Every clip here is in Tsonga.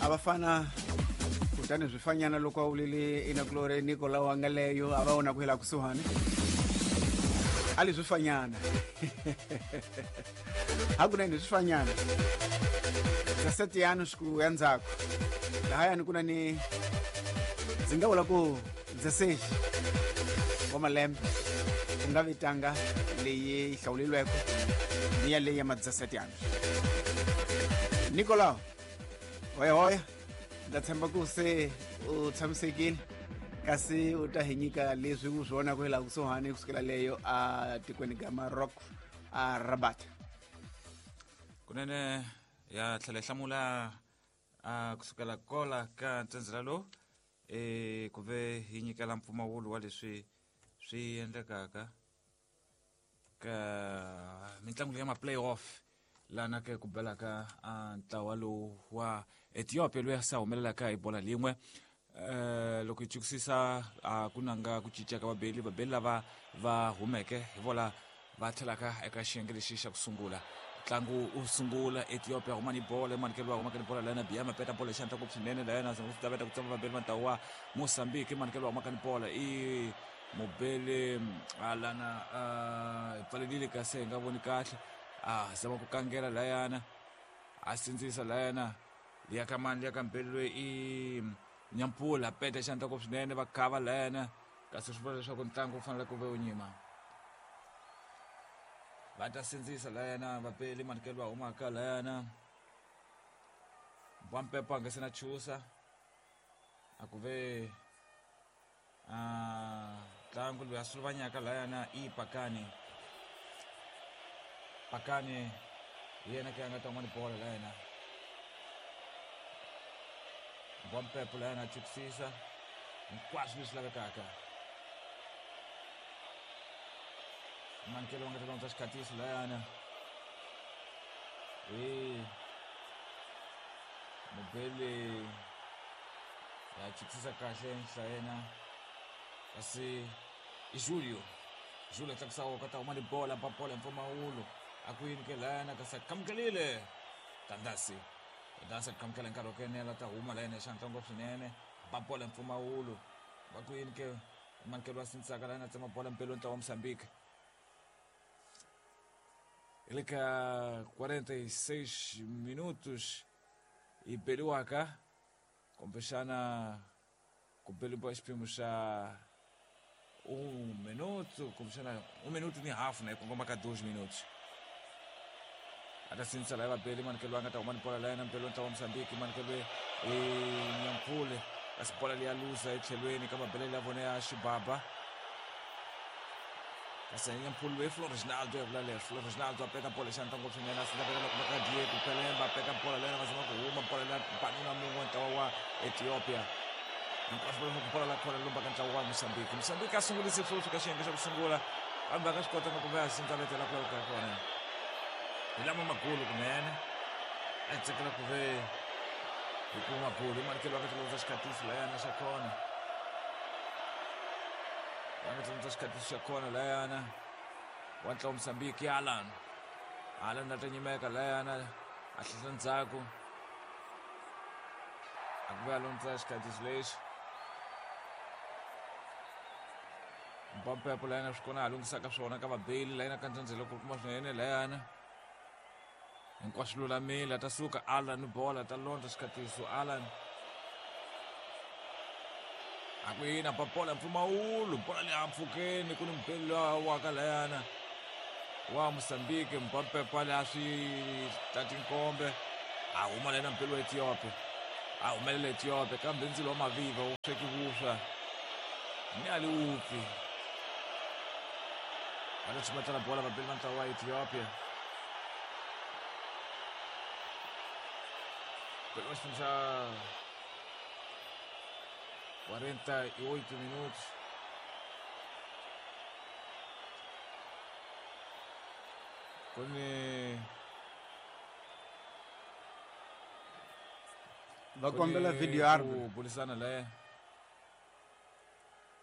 A va fana kutani swifanyana loko a wulile inakulore Nicolau a nga leyo a va vona ku hela kusuhani a li swifanyana hakunene swifanyana 17 anos ku ya ndzhaku lahayani ku na ni ndzi nga vula ku 16 wa malembe ku nga vitanga leyi yi hlawulilweke ni ya leyi ya ma 17 anos. Nicolau hoyahoya, ndza tshemba ku se u tshamisekile kasi u ta hi nyika leswi u swi vonaka hi laha kusuhani kusukela leyo a tikweni ga Maroc a Rabat. Kunene ya tlhela yi hlamula a kusukela kola ka ntsendzela lowu e ku ve yi nyikela mpfumawulo wa leswi swi endlekaka ka mitlangu leyi ya ma-playoff lana ke ku belaka a ntlawa lowu wa Ethiopia loyi a sa humelelaka hi bola lin'we. Loko hi chukisisa a ku nanga ku cinca ka vabeli, vabeli lava va humeke hi vola va tlhelaka eka xiyenge lexi xa ku sungula. Ntlangu wu sungula, Ethiopia huma ni bola emanikelo wa humaka ni bola lana Biama peta bola xandla ku swinene lana zama ku veta ku tsema vabeli va ntlawa wa Mozambique. Manikelo wa humaka ni bola i mubeli lana hi pfalelile kasi hi nga voni kahle, a zama ku kangela layana a sindzisa layana liya ka mani liya ka mbeli loyi i Nyampula peta xandla ku swinene va khava layana kasi swi vula leswaku ntlangu wu fanele ku ve wu nyima. Va ta sindzisa layana vapeli manikelo va humaka layana Mbwampepo a nga se na chusa a ku ve a ntlangu loyi a suluvanyaka layana i Pakani. Pakani hi yena ke a nga ta huma ni bola layana. Mbwampepo layana a chukisisa hinkwaswo leswi lavekaka. Mankelo va nga ta londza xikhatiso layana hi mubeli ya chukisisa kahle nhla yena kasi i Julio. Julio tlakusa ka ta huma ni bola, ba bola mpfumawulo a ku yini ke layana kasi a kamukelile Tandasi. Tandasi a kamukela nkarhi wa ku enela ta huma layana xandla ngopfu swinene, ba bola mpfumawulo va ku yini ke mankelo wa sindzisaka layana tsema bola mpelo ntlawa wa Mozambique. Hi le ka 46 minutos yi beliwaka kumbexana ku beliwa xiphemu xa 1 minuto kumbexana 1 minuto ni hafu na yi kongoma ka 2 minutos. A ta sindzisa laya vabeli manikelo a nga ta huma ni bola laya na mpelo ntlawa wa Mozambique manikelo i Nyampule kasi bola leyi ya luza etlhelweni ka mabelele ya vona ya xibaba kasi Nyampule loyi Flo Reginaldo ya vula leswi. Flo Reginaldo a peta bola xandla ngopfu swinene a sindza vekela kuma ka Diego Pelemba a peta bola leyana va zama ku huma bola leya banuna mun'we ntlawa wa Ethiopia hinkwaswo va ku bola la khona lomba ka ntlawa wa Mozambique. Mozambique a sungulise sweswi ka xiyenge xa ku sungula kambe a nga swi kotanga ku va ya sindza vetela ku laveka kona hi lama magulu kunene a hi tsakela ku ve hi kuma magulu i manikelo va nga tlulondza xikhatiso layana xa kona va nga tlulondza xikhatiso xa kona layana wa ntlawa Mozambique Alan. Alan a ta nyimeka layana a hlehla ndzhaku a ku ve a londza xikhatiso lexi Mpampepo layana swi kona a lunghisaka swona ka vabeli layana ka ndzhendzhelo ku kuma swinene layana hinkwaswo lulamile a ta suka Alan bola ta londza xikhatiso Alan a ku yini a ba bola mpfumawulo bola leyi a mpfhukeni ku ni mubeli lowa wa ka layana wa Mozambique Mpampepo a swi tati nkombe a huma layana mubeli wa Ethiopia a humelela Ethiopia kambe ndzilo wa maviva wu sweki vuswa ni a li wupfi va ta chumatela bola vabeli va ntlawa wa Ethiopia pelo xiphemu xa 48 minutos ku ni va kombela video ku burisana laya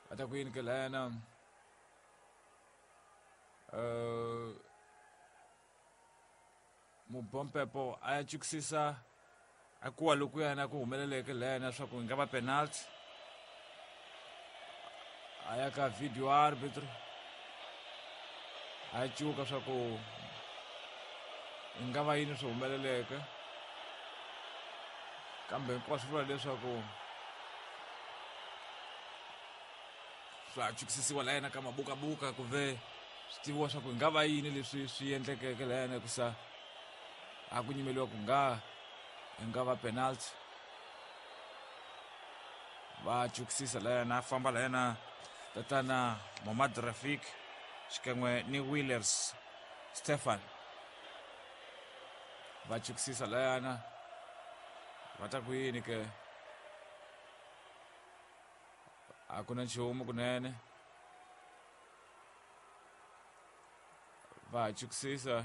va ta ku yini ke layana mubompepo a ya chukisisa A kuwa lokuyana ku humeleleke layana swa ku yi nga va penalty. A ya ka video arbitr a cuka swa ku yi nga va yini swi humeleleke, kambe hinkwaswo vula leswaku swa chukisisiwa layena ka mabukabuka ku ve swi tiviwa swa ku yi nga va yini leswi swi endlekeke layena, hikusa a ku nyimeliwa ku nga yi nga va penalty. Va chukisisa layena, a famba layena tatana Momad Rafik xikan'we ni Willers Stefan, va chukisisa layana. Va ta ku yini ke? A ku na nchumu kunene, va chukisisa,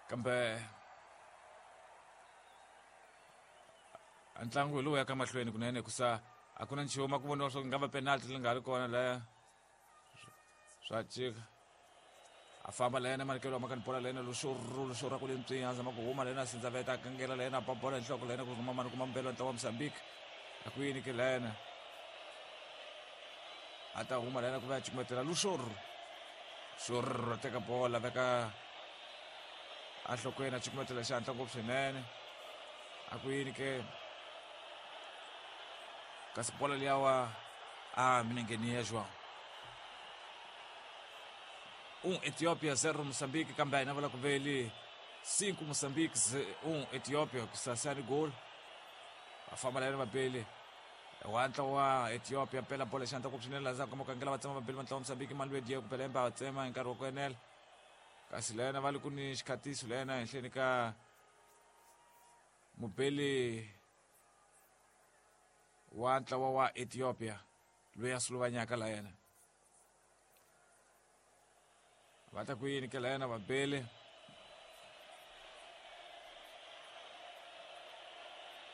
kambe ntlangu hi lowu ya ka mahlweni kunene, kusa a ku na nchumu. A ku voniwa swa ku nga va penalty leyi nga ri kona laya. Swa cika, a famba layena manikelo wa bola layena luxoro ku le ntswinya, a zama ku huma layena, sindzaveta, a kangela layena, a ba bola hi nhloko layena, ku rhuma mani kuma mbelo ntlawa wa Mozambique. A ku yini ke layena? A ta huma layena ku va ya cukumetela luxoro xoro, teka bola, veka enhlokweni, a cukumetela xihatla ngopfu swinene. A ku yini ke? Kasi bola liyawa a minengeni ya João. 1 Etiópia, 0 Moçambique, kambe a hina vula ku veli 5 Moçambique, 1 Etiópia, kusasani gol. Va famba layena vabeli wa ntlawa wa Ethiopia, pela bola xandla ku swinene laha ndzhaku ka makangela, va tsema vabeli va ntlawa wa Mozambique, mali Diego Pelemba va tsema hi nkarhi wa ku enela. Kasi layena va li ku ni xikhatiso layena henhleni ka mubeli wa ntlawa wa Ethiopia loyi a suluvanyaka layena. Va ta ku yini ke layena vabeli?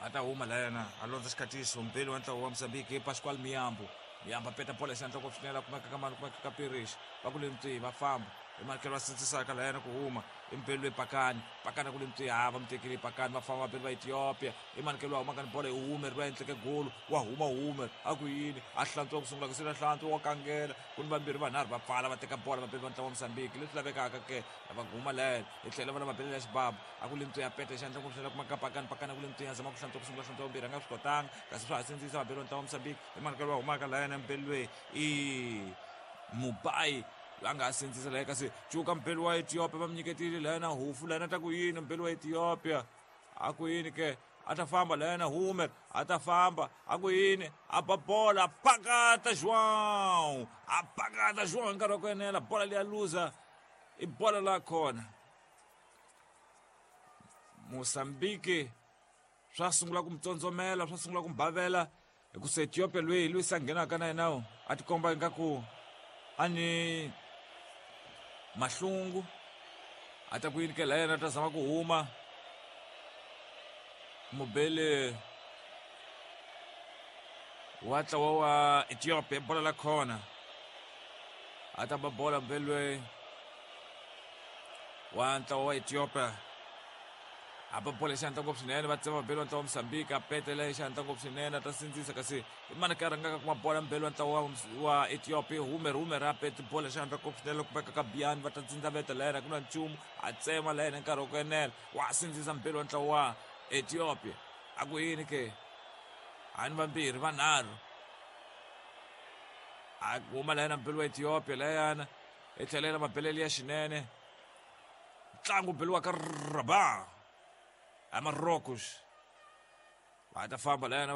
A ta huma layena, a londza xikhatiso mbeli wa ntlawa wa Mozambique, Pascual Miyambo. Miyambo a peta bola xandla ngopfu swinene, a kumeka ka mani, kumeka ka Pirish. Va ku le ntswi, va famba i manikelo, va sindzisaka layena ku huma i mbeli loyi Pakani. Pakani ku le ntswi, ha va mu tekile Pakani. Va famba vabeli va Ethiopia, i manikelo wa humaka ni bola, i Humer loyi a endleke golo. Wa huma Humer, a ku yini? A hlantswa ku sungula ku sila, hlantswa, wa kangela, ku ni vambirhi vanharhu va pfala, va teka bola vabeli va ntlawa wa Mozambique. Leswi lavekaka ke va huma layena hi tlhela va lava belela ya xibabu. A ku le ntswi, ya peta xandla ngopfu swinene, kuma ka Pakani. Pakani a ku le ntswi, ya zama ku hlantswa ku sungula, hlantswa vambirhi, a nga swi kotanga. Kasi swa ha sindzisa vabeli va ntlawa wa Mozambique, i manikelo wa humaka layena mbeli loyi i Mubai loyi a nga ha sindzisa laya. Kasi cuka mbeli wa Ethiopia, va mi nyiketile layena hufu layena. Ta ku yini mbeli wa Ethiopia? A ku yini ke? A ta famba layena Humer, a ta famba. A ku yini? A ba bola, pakata João, a pakata João hi nkarhi wa ku enela, bola leya luza, i bola la khona. Mozambique swa sungula ku mutsondzomela, swa sungula ku mubavela, hikusa Ethiopia loyi loyi se a nghenaka na yena a tikomba ingaku a ni mahlungu. A ta ku yini ke la yena? Ta zama ku huma mubele wa ntlawa wa Ethiopia, bola la khona. A ta ba bola mubele loyi wa ntlawa wa Ethiopia, a ba bola xandla ngopfu swinene, va tsema vabeli wa ntlawa wa Mozambique, a petela xandla ngopfu swinene, a ta sindzisa. Kasi i mani ka rhangaka kuma bola mbeli wa ntlawa wa Ethiopia? Humer. Humer a pete bola xandla ngopfu swinene, kumeka ka Biani, va ta tsindzaveta layena, ku na nchumu, a tsema layena nkarhi wa ku enela. Wa sindzisa mbeli wa ntlawa wa Ethiopia. A ku yini ke? Hani vambirhi vanharhu, a huma layena mbeli wa Ethiopia layana, i tlhelela mabelele ya xinene. Ntlangu beliwa ka Rabat a Marocos. Va ta famba layana.